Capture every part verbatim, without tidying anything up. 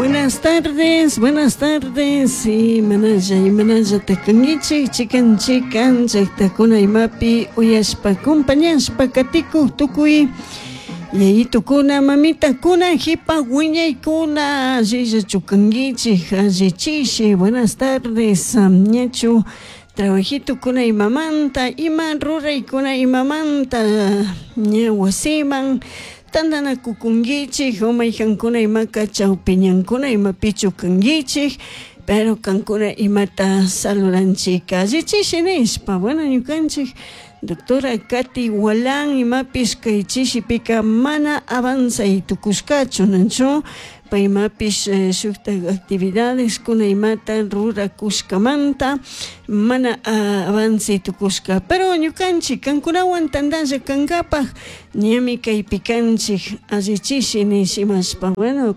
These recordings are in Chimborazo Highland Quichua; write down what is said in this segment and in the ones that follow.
Buenas tardes, buenas tardes. Imanalla, imanalla takangichik, chikan chikan, llaqtakuna imapi uyashpa, acompañashpa katikuq tukuy yayitukuna, mamitakuna, hipa wiñaykuna, allillachu kankichik, allichishi. Buenas tardes, ñachu trabajitukuna imamanta, ima ruraykuna imamanta, ña wasiman tantanakukunkichik, o mayhankuna imaka chawpiñankuna imapichu kankichik, pero kankuna imata saludanchik allichishi nishpa. Bueno, ñukanchik doctora Katy Gualán imapish kay chishipika mana avanzay tukushkachu, nachu paymapish eh, shuktak actividades kuna imata rurakushkamanta mana uh, avance tukushka, pero ñukanchik kankunawan tantalla kankapaj ñami kaypi kanchik allichishi nishimashpa. Bueno,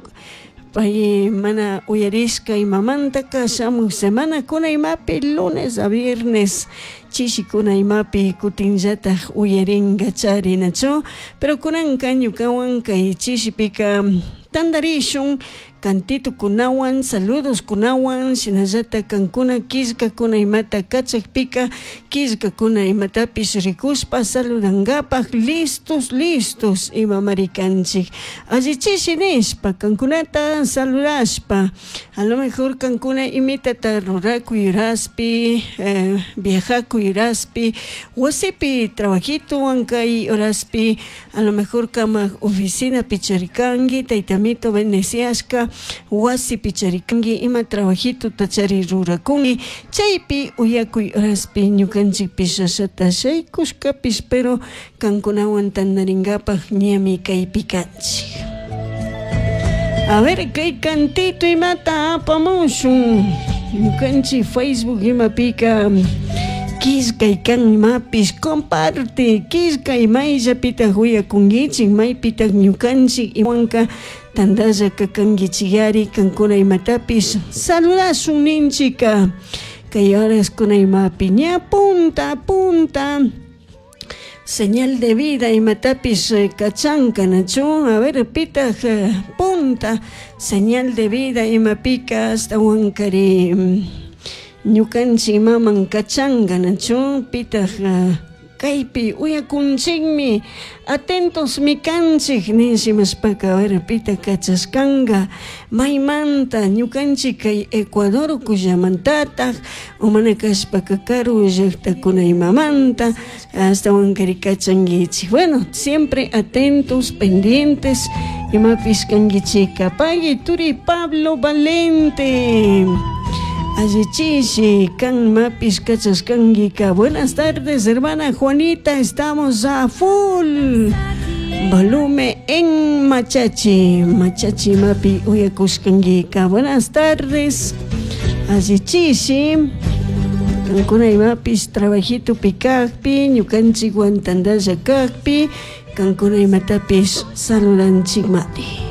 pay mana uyarishka imamantaka shamuj semana kuna imapi lunes a viernes chishikuna imapi kutinllataj uyarinka charinachu, pero kunanka ñukawan kay chishipika tantarishun cantito kunawan, saludos kunawan, shinallata kankuna killkakuna imata kachakpika killkakuna imatapish rikushpa saludankapaj listos listos imamari kanchik allichishi nishpa kankunata saludashpa. A lo mejor kankuna imitata rurakuy horaspi, eh, viajakuy horaspi, wasipi trabajituwan kay horaspi, a lo mejor kamak oficinapi charikanki, taytamito bendeciashka wasipi charikanki, ima trabajituta chari rurakunki, chaypi uyakuy horaspi ñukanchikpish ashata shaykushkapish, pero kankunawan tantarinkapaj ñami kaypi kanchik. A ver, kay cantito imata apamushun ñukanchik Facebook imapika killkay kan imapish comparte killkay mayllapitaq uyakunkichik, maypitaq ñukanchik iwanka tantalla kakankichikari kankuna imatapish saludashun ninchika kay horas kuna imapi ña punta punta señal de vida imatapish kachanka nachu. A ver, pitaq punta señal de vida imapika ashtawankari ñukanchik imaman kachanka nachu, pitaq kaypi uyakunchikmi atentos mi kanchik nishimashpaka, a ver, pitaq kachashkanka maymanta ñukanchik kay Ecuador ukullamantataj o mana kashpaka karu llaktakuna imamanta ashtawankari kachankichik. Bueno, siempre atentos, pendientes imapish kankichika. Pagui turi Pablo Valente allichishi kan imapish kachashkankika. Buenas tardes, hermana Juanita, estamos a full volumen en Machachi, Machachi mapi uyakushkankika. Buenas tardes, allichishi kankuna imapish trabajito pikakpi ñukanchikwan tantalla kakpi kankuna imatapish saludanchikmari.